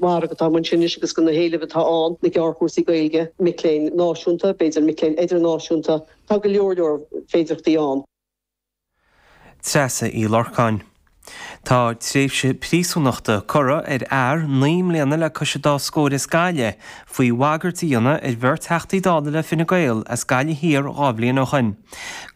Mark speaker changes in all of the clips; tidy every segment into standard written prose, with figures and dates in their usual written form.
Speaker 1: Margadh atá amuigh ansin anois agus go na héilimh atá ann, na gearrchúrsaí Gaeilge, mic léinn náisiúnta, b'fhéidir mic léinn idirnáisiúnta, tá go leor leor féidearthachtaí ann.
Speaker 2: Treasa Uí Lorcáin. Tá tréimhse príosúnachta curtha ar fhear 9 mbliana le cois an dá scór as Gaillimh faoi bhagairt a dhéanamh ar bheirt Theachtaí Dála le Fine Gael as Gaillimh Thiar 2 bhliain ó shin.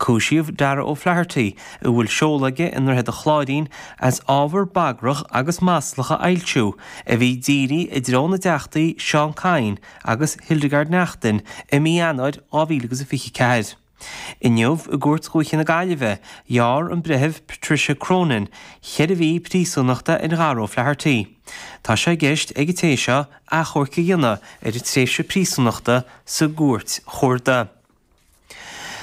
Speaker 2: Cúisíodh Darragh O'Flaherty, a bhfuil seoladh aige i nDroichead an Chláirín, as ábhar bagrach agus maslach a fhoilsiú a bhí dírithe i dtreo na dTeachtaí Seán Kyne agus Hildegarde Naughton i mí Eanáir 2024. Inniu i gCúirt Dhúiche na Gaillimhe, ghearr an Breitheamh Patricia Cronin cheithre mhí príosúnachta ar Dharragh O'Flaherty. Tá sé i gceist ag an té seo achomharc a dhéanamh ar an tréimhse príosúnachta sa gCúirt Chuarda.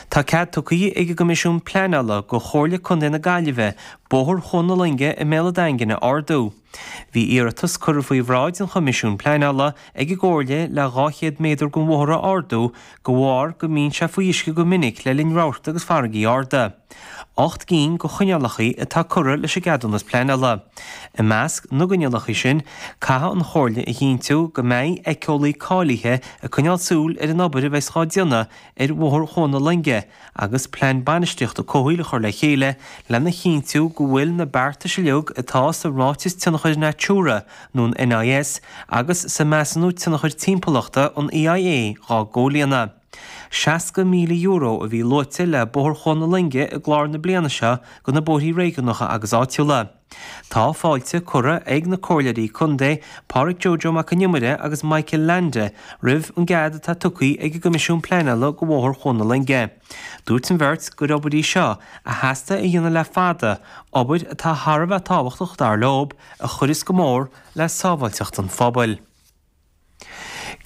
Speaker 2: Tá cead tugtha ag an gCoimisiún Pleanála go Chomhairle Contae na Gaillimhe Bóthar Chuan na Loinge i mBéal an Daingin a ardú. Bhí iarratas curtha faoi bhráid an Choimisiúin Pleanála ag an gComhairle le 200 méadar den bhóthar a ardú de bharr go mbíonn sé faoi uisce go minic le linn rabharta agus farraigí arda. 8 gcinn de choinníollacha atá curtha leis an gceadúnas pleanála. I measc na gcoinníollacha sin, caithfidh an Chomhairle a chinntiú go mbeidh éiceolaí cáilithe ag coinneáil súil ar an obair a bheas dhá déanamh ar Bhóthar Chuan na Loinge agus plean bainistíochta comhshaoil a chur le chéile lena chinntiú go bhfuil na beartais uilig atá sa Ráiteas Tionchair Natura nó an NIS agus sa Measúnú Tionchair Timpeallachta, an EIA, dhá gcomhlíonadh. €60,000 a bhí luaite le Bóthar Chuan na Loinge i gclár na bliana seo do na bóithrí réigiúnacha agus áitiúla. Tá fáilte curtha ag na Comhairleoirí Contae, Pádraic Joe Joe Mac an Iomaire agus Michael Leainde roimh an gcead atá tugtha ag an gCoimisiún Pleanála do Bhóthar Chuan na Loinge. Dúirt an bheirt gur obair í seo a theastaigh a dhéanamh le fada, obair atá thar a bheith tábhachtach dar leo, a chuireas go mór le sábháilteacht an phobail.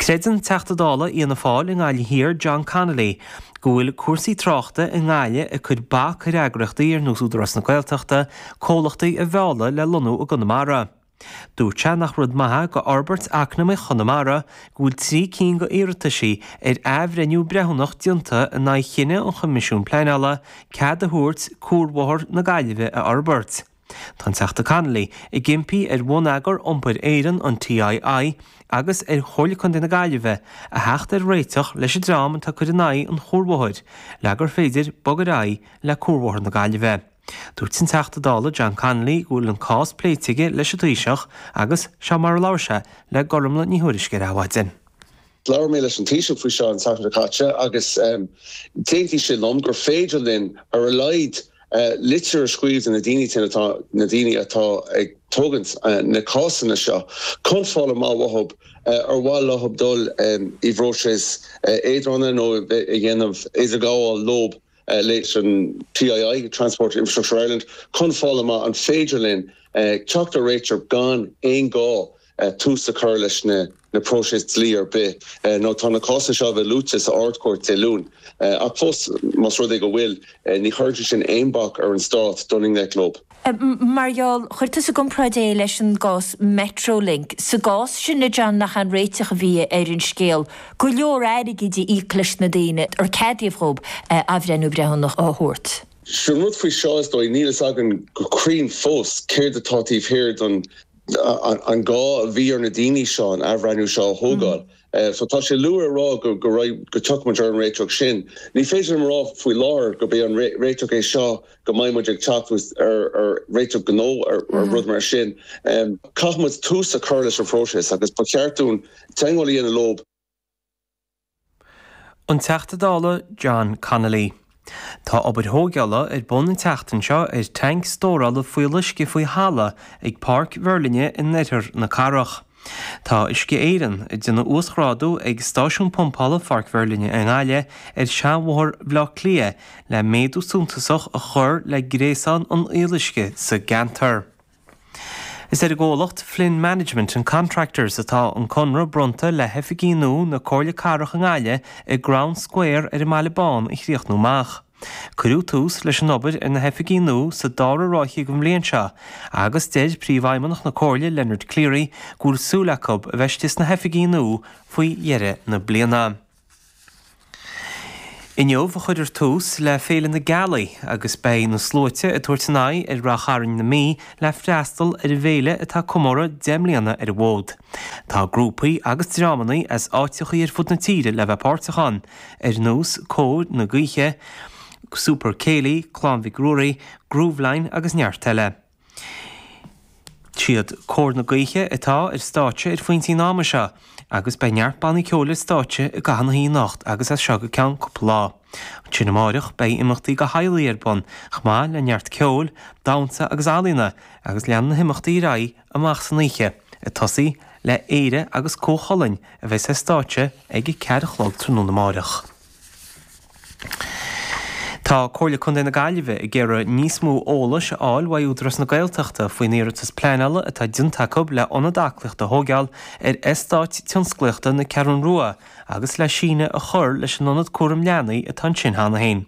Speaker 2: Creideann Teachta Dála Fhianna Fáil i nGaillimh Thiar John Connolly go bhfuil cúrsaí tráchta i nGaillimh ag cur bac ar eagraíochtaí ar nós Údarás na Gaeltachta comhlachtaí a mhealladh le lonnú i gConamara. Dúirt sé nach rud maith é do fhorbairt eacnamaíoch Chonamara go bhfuil 3 cinn d'iarrataisí ar athbhreithniú breithiúnach déanta in aghaidh chinneadh an Choimisiúin Pleanála cead a thabhairt Cuarbhóthar na Gaillimhe a fhorbairt. Tá an Teachta Connolly ag impí ar Bhonneagar Iompair Éireann, an TII, agus ar Chomhairle Contae na Gaillimhe a theacht ar réiteach leis an dream atá ag cur in aghaidh an chuarbhóthair le gur féidir bog ar aghaidh le Cuarbhóthar na Gaillimhe. Dúirt an Teachta Dála John Connolly go bhfuil an cás pléite aige leis an Taoiseach agus seo mar a labhair sé le Gormlaith Ní Thuairisg ar Adhmhaidin.
Speaker 3: Labhair mé leis an Taoiseach faoi seo an tseachtain seo caite agus d'aontaigh sé liom gur féidir linn ar a laghad litir a scríobh do na daoine sin atá na daoine atá ag tógaint na cásanna seo chun fáil amach uathu ar mhaith leo dul i bpróiseas eadrána nó a dhéanamh idirghabháil leo leis an TII, Transport Infrastructure Ireland, chun fáil amach an féidir linn teacht ar réiteach gan aon ghá tús a chur leis na próiseas dlí ar bith nó tá na cásanna seo a bheith luaite sa Ard-Chúirt Dé Luain. Ach fós, más rud é go bhfuil, ní chuireann sé sin aon bac ar an Stát dul i ngleic leo.
Speaker 4: Mar gheall, chuir tusa i gcomparáid é leis an gcás Metrolink. Sa gcás sin, a John, nach é an réiteach a bhí ar an scéal go leor airgid a íoc leis na daoine ar ceadaíodh dhóibh athbhreithniú breithiúnach a thabhairt?
Speaker 3: Sin rud faoi seo, is dóigh, níl fhios againn go cruinn fós céard atá taobh thiar don an gá a bhí ar na daoine seo an athbhreithniú seo a thógáil. So tá sé luath a rá go go go dtiocfaidh muid ar an réiteach sin. Ní féidir liom a rá faoi láthair gurb é an réiteach é seo go mbeidh muid ag teacht ar ar réiteach gnó ar rud mar sin. Caithfidh muid tús a chur leis an phróiseas agus ba cheart dúinn teagmháil a dhéanamh leo.
Speaker 2: An Teachta Dála John Connolly. Tá obair thógála ar bun an tseachtain seo ar tanc stórála fuíolluisce faoi thalamh ag Páirc Mheirlinne in oirthear na cathrach. Tá Uisce Éireann ag déanamh uasghrádú ag stáisiún pumpála Pháirc Mheirlinne i nGaillimh ar Sheanbhóthar Bhaile Átha Cliath le méadú suntasach a chur le gréasán an fhuíolluisce sa gceantar. Is ar an gcomhlacht Flynn Management and Contractors atá an conradh bronnta le hoifigí nua na Comhairle Cathrach i nGaillimh i gCrown Square ar an mBaile Bán a chríochnú amach. Cuireadh tús leis an obair ar na hoifigí nua sa dara ráithe den bhliain seo agus deir Príomhfheidhmeannach na Comhairle Leonard Cleary go bhfuil súil acu a bheith istigh sna hoifigí nua faoi dheireadh na bliana. Inniu a chuirfear tús le Féile na Gealaí agus beidh na sluaite ag tabhairt a n-aghaidh ar Ráth Chairn na Mí le freastal ar an bhféile atá ag comóradh 10 mbliana ar an bhfód. Tá grúpaí agus dreamanna as áiteachaí ar fud na tíre le bheith páirteach ann, ar nós Cór na Gaoithe, Super Céilí, Clann Mhic Ruairí, Grooveline agus neart eile. Siad Cór na Gaoithe atá ar stáitse ar phointí an ama seo agus beidh neart bannaí ceoil ar stáitse i gcaitheamh na hoíche anocht agus as seo go ceann cúpla lá. Ansin amáireach beidh imeachtaí do theaghlaigh ar bun chomh maith le neart ceoil, damhsa agus ealaíona agus leanfaidh na himeachtaí ar aghaidh amach san oíche, ag tosaí le Éire agus Cú Chulainn a bheas ar stáitse ag a ceathair a chlog tráthnóna amáireach. Tá Comhairle Contae na Gaillimhe ag iarraidh níos mó eolais a fháil uaidh Údarás na Gaeltachta faoin iarratas pleanála atá déanta acu le ionad aclaíochta a thóigeáil ar eastát tionsclaíochta na Ceathrún Rua agus le síneadh a chur leis an ionad cúram leanaí atá ansin cheana féin.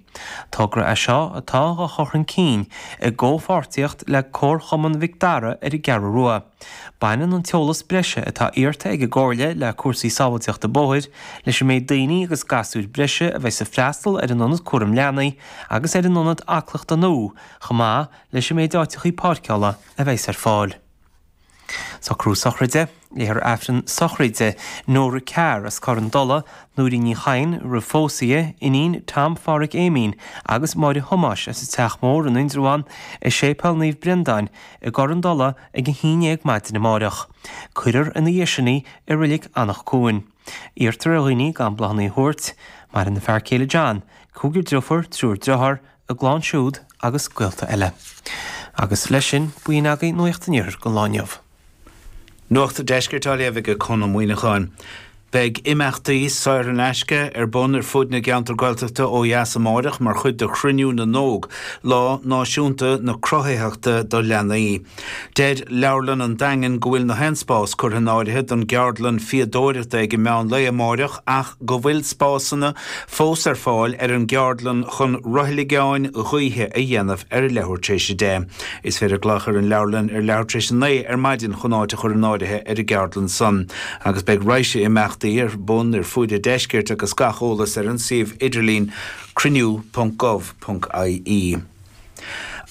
Speaker 2: Togra é seo atá á chur chun cinn i gcomhpháirtíocht le Comharchumann Mhic Dara ar an gCeathrú Rua. Baineann an t-eolas breise atá iarrta ag an gComhairle le cúrsaí sábháilteachta bóthair, leis an méid daoine agus gasúir breise a bheas ag freastal ar an ionad cúram leanaí agus ar an ionad aclaíochta nua chomh maith leis an méid áiteachaí páirceála a bheas ar fáil. Socrú sochraide, Léifear Aifreann sochraide Nóra Carr as Corr an Dola, Nóirín Ní Chadhain, roimh phósadh di, iníon Tom Pháraic Éimín agus Máire Thomáis as an Teach Mór in Indreabhán, i Séipéal Naomh Brendáin i gCorr an Dola ag a haon dhéag maidin amáireach. Cuirfear ina dhiaidh sin í i Reilig Anach Cuain. Iarrtar ar dhaoine gan bláthanna a thabhairt. Maireann a fear céile John, cúigear driofúr, triúr driotháir, a gclann siúd agus gaolta eile. Agus leis sin, b'in agaibh Nuacht an Iarthair don lá inniu.
Speaker 5: Nuacht an Deiscirt á léamh ag Conn Ó Muíneacháin. Beidh imeachtaí saor in aisce ar bun ar fud na gceantar Gaeltachta ó dheas amáireach mar chuid de Chruinniú na nÓg, Lá Náisiúnta na Cruthaitheachta do Leanaí. Deir Leabharlann an Daingin go bhfuil na haon spás curtha in áirithe don gceardlann fíodóireachta ag an meán lae amáireach ach go bhfuil spásanna fós ar fáil ar an gceardlann chun roithleagáin ghaoithe a dhéanamh ar a leathuair tar éis a deich. Is féidir glaoch ar an leabharlann ar leathuair tar éis a naoi ar maidin chun áit a chur in áirithe ar an gceardlann san agus beidh raidhse imeachtaí ar bun ar fuaid an deiscirt agus gach eolas ar an suíomh idirlín cruinniú.gov.ie.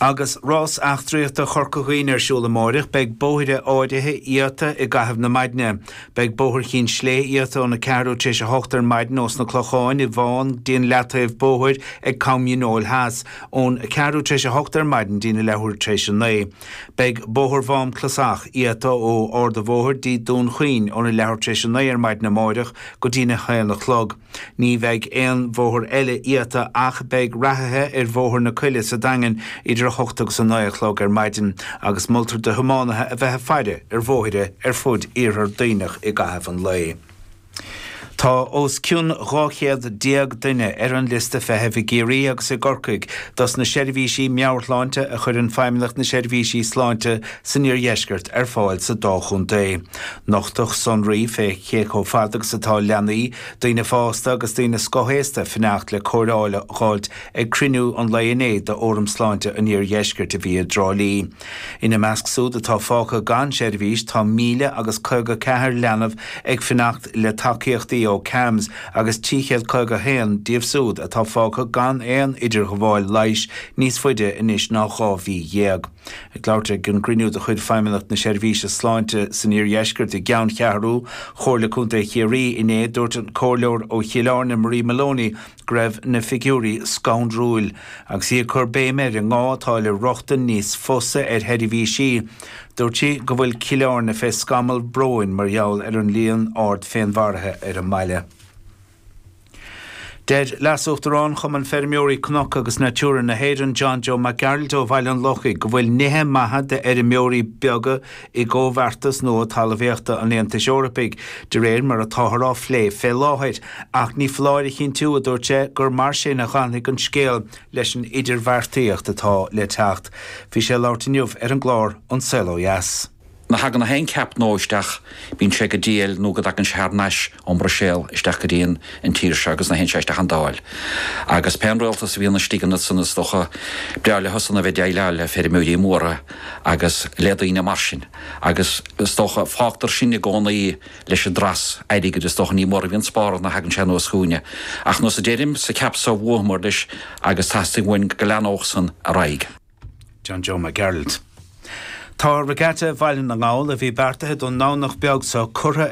Speaker 5: Agus rás eachtraíochta Chorca Dhuibhne ar siúl amáireach, beidh bóithre áirithe iata i gcaitheamh na maidne. Beidh Bóthar Chinn Slé iata óna ceathrú tar éis a hocht ar maidin ós na Clocháin i bhFán dtí an leataobh bóthair ag Com Dhíneol Theas, ón ceathrú tar éis a hocht ar maidin dtína leathuair tar éis a naoi. Beidh Bóthar Mhám Clasach iata ó Ard a' Bhóthair dtí Dún Chaoin óna leathuair tar éis a naoi ar maidin amáireach go dtína haon a chlog. Ní bheidh aon bhóthar eile iata ach beidh reathaithe ar Bhóthar na Coille sa Daingean idir a hocht agus a naoi a chlog ar maidin agus moltar do thiománaithe a bheith ag faire ar bhóithre ar fud Iarthar Duibhneach i gcaitheamh an lae. Tá os cionn 200 déag duine ar an liosta feithimh i gCiarraí agus i gCorcaigh dos na seirbhísí meabhairshláinte a chuireann Feidhmeannacht na Seirbhísí Sláinte san Iardheisceart ar fáil sa dá chontae. Nochtadh sonraí fé cé chomh fada agus atá leanaí, daoine fásta agus daoine scothaosta ag fanacht le cóireáil a dh'fháilt ag cruinniú an lae inné d'Fhóram Sláinte an Iardheiscirt a bhí i dTrá Lí. Ina measc súd atá fágtha gan seirbhís tá 1,000 agus 54 leanbh ag fanacht le tacaíochtaí ó CAMHS agus 351 díobh súd atá fágtha gan aon idirghabháil leighis níos faide anois ná 12 mhí. Ag labhairt ag an gcruinniú de chuid Feidhmeannacht na Seirbhíse Sláinte san Iardheisceart i gceanncheathrú Chomhairle Contae Chiarraí inné, dúirt an Comhairleoir ó Chill Airne Marie Moloney go raibh na figiúirí scanrúil agus í ag cur béime ar an ngá atá le rochtain níos fusa ar sheirbhísí. Dúirt sí go bhfuil Cill Airne fé scamall bróin mar gheall ar an líon ard féinmharaithe ar an mbaile. Deir Leas-Uachtarán Chumann Feirmeoirí Cnoc agus Natura na hÉireann, John Joe Mac Gearailt ó Bhaile an Lochaigh, go bhfuil nithe maithe d'fheirmeoirí beaga i gcomhbheartas nua talmhaíochta an Aontais Eorpaigh, de réir mar atáthar á phlé fé láthair. Ach ní foláir a chinntiú, a dúirt sé, gur mar sin a dh'fhanfaidh an scéal leis an idirbheartaíocht atá le teacht. Bhí sé ag labhairt inniu ar an gclár An Saol Ó Dheas.
Speaker 6: Ná thagann aon cheap nua isteach, bíonn sé go diail nó go dtagann sé thar n-ais ón mBruiséal isteach go dtí an tír seo agus ná théann sé isteach an Dáil. Agus pé an rialtas a bhíonn istigh ansan is dócha, breá leosan a bheith ag déileáil le feirmeoirí móra agus le daoine mar sin. Agus is dócha, fágtar sinn i gcónaí leis an dtreas airgid, is dócha, ní mór a bhíonn spártha ná thagann sé anuas chugainne. Ach nós a deirim, sa cheap so bhuamar leis agus teastaíonn uainn go leathnódh san ar aghaidh.
Speaker 5: John Joe Mac Gearailt. Tá Regatta Bhaile na nGall, a bhí beartaithe don nDomhnach beag seo, curtha.